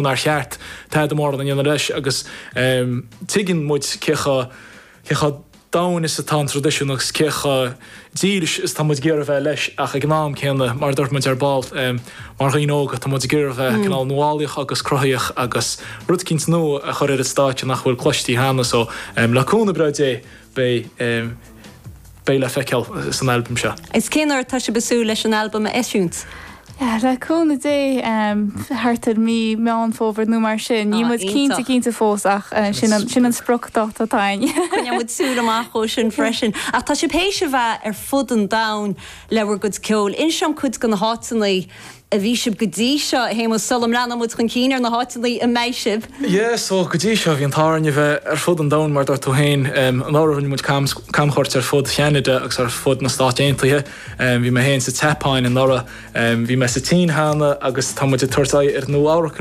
Nár cheart tada mórán a dhéanamh leis agus tuigeann muid cé chomh cé chomh domhain is atá an traidisiún agus cé chomh dílis is atá muid ag iarraidh a bheith leis ach ag an am céanna, mar a dúirt muid ar ball, mar dhaoine óga tá muid ag iarraidh a bheith cineál nuálaíoch agus cruthaíoch agus rud eicínt nua a chur ar an stáitse nach bhfuil cloistí cheana so le cúnamh breá Dé beidh beidh le feiceáil san albam seo. Is cén uair atá sibh ag súil leis an albam a eisiúint? Le cúnamh Dé, thart ar mí Meán Fómhair nó mar sin. Níl muid cinnte cinnte fós ach sin an sin an spriocdháta atá againn. Coinneoidh muid súil amach dhó sin freisin. Ach tá sibh théis a bheith ar fud an domhain le bhur gcuid ceoil. Inis dom cuid de na háiteanna a bhí sibh go dtí seo, a Shéamuis, sula mbreathnóidh muid chun cinn ar na háiteanna a mbeidh sibh? Yeah, so go dtí seo bhí an t-ádh orainn a bheith ar fud an domhain mar dúirt tú féin. Anuraidh rinne muid camchuairt ar fud Cheanada agus ar fud na Stát Aontaithe. Bhí mé féin sa tSeapáin anuraidh, bhí mé sa tSín cheana agus tá muid ag tabhairt aghaidh ar Nua Eabhrac.